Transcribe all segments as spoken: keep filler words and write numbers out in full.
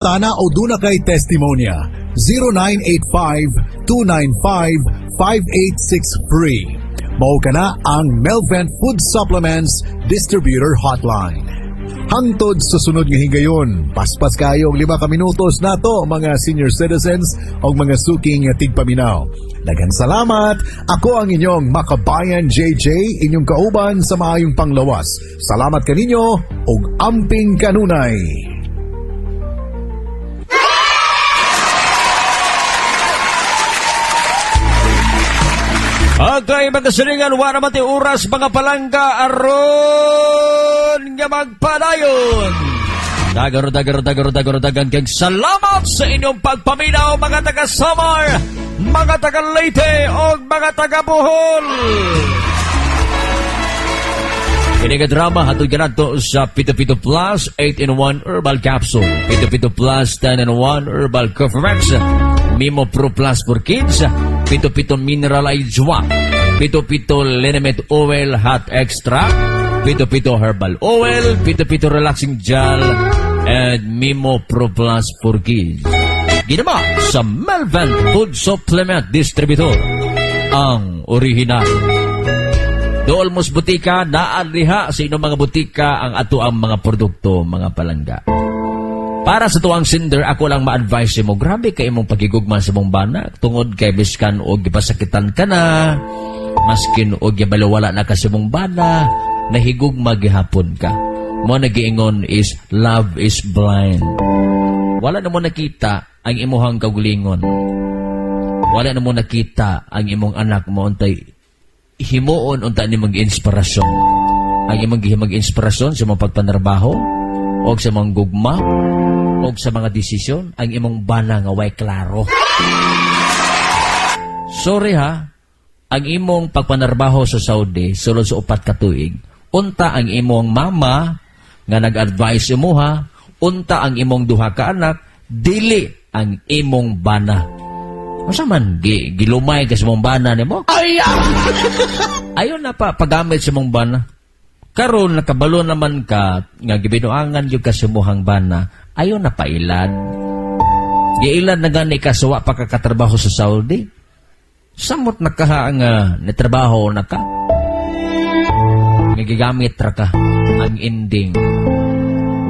Tana o duna kay testimonya zero nine eight five, two nine five, five eight six three. Mao kana ang Melvent Food Supplements Distributor Hotline. Hangtod sa sunod nga higayon, paspas kayong lima ka minutos nato, mga senior citizens o mga suking tigpaminaw. Daghang salamat. Ako ang inyong Makabayan J J, inyong kauban sa maayong panglawas. Salamat kaninyo ug amping kanunay. Okay, mga silingan, wala man ti oras, mga palangga, aron nga magpadayon. Dagaro, dagaro, dagaro, dagaro, dagan kag salamat sa inyong pagpaminaw, mga taga Samar, mga taga Leyte, o mga taga Bohol. Kini nga drama hatod kanato sa Pito Pito Plus eight in one Herbal Capsule, Pito Pito Plus ten in one Herbal Coffrex, Mimo Pro Plus for Kids, Pito Pito Mineral Ijwa, Pito Pito Liniment Oil Hot Extract, Pito Pito Herbal Oil, Pito Pito Relaxing Gel, and Mimo Pro Plus for Kids. Ginawa sa Melvin Food Supplement Distributor, ang original. Dool mos butika, naa diha sa inyong mga butika ang ato ang mga produkto, mga palangga. Para sa tuwang sender, ako lang ma-advise mo, grabe kay imong pagigugma sa imong bana, tungod kay biskan og gipasakitan ka na, maskin og gibaliwala na ka sa imong bana, nahigugma gihapon ka. Mo nagiingon is, love is blind. Wala na mo nakita ang imuhang kaugalingon. Wala na mo nakita ang imong anak mo untay himuon unta ni mag inspirasyon. Ang imong gihimag inspirasyon sa imong pagpanarbaho o sa imong gugma o sa mga desisyon ang imong bana nga way klaro. Sorry ha, ang imong pagpanarbaho sa Saudi sulod sa upat ka tuig, unta ang imong mama nga nag-advise imuha, unta ang imong duha ka anak, dili ang imong bana. Unsa man gi, gilumay ka sa imong bana nimo? Ay! Ayon na pa paggamit sa imong bana. Karon nakabalo naman ka nga gibinuangan gyud ka sa imong bana, ayon na pailad. Giilad na gani ka sa wa pa ka katrabaho sa Saudi. Samot na ka nga nitrabaho na ka. Nga gigamit ra ka ang ending.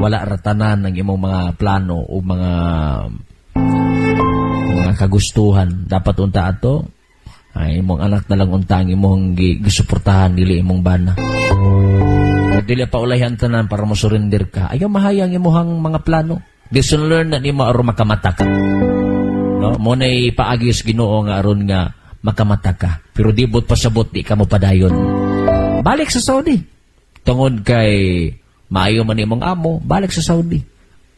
Wala ra tanan ang imong mga plano o mga mga kagustuhan. Dapat unta ato ay imong anak na lang unta ang imong gi- gisuportahan, dili imong bana. Dili pa ulayan tanan para mo surrender ka. Ayaw mahayang imuhang mga plano. Lesson learn na nimo aron makamata ka. No, mo nay paagi sa Ginoo nga aron nga makamata ka. Pero di bot pasabot di ka mo padayon. Balik sa Saudi. Tungod kay maayo man imong amo, balik sa Saudi.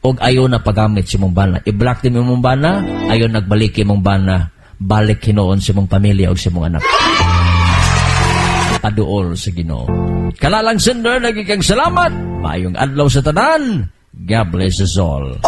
Og ayo na paggamit sa imong bana. I-block din imong bana, ayo nagbalik imong bana. Balik hinuon sa imong pamilya og sa imong anak. Paduol sa Ginoo. Kalalang sender, nagikang salamat. Maayong adlaw sa tanan. God bless us all.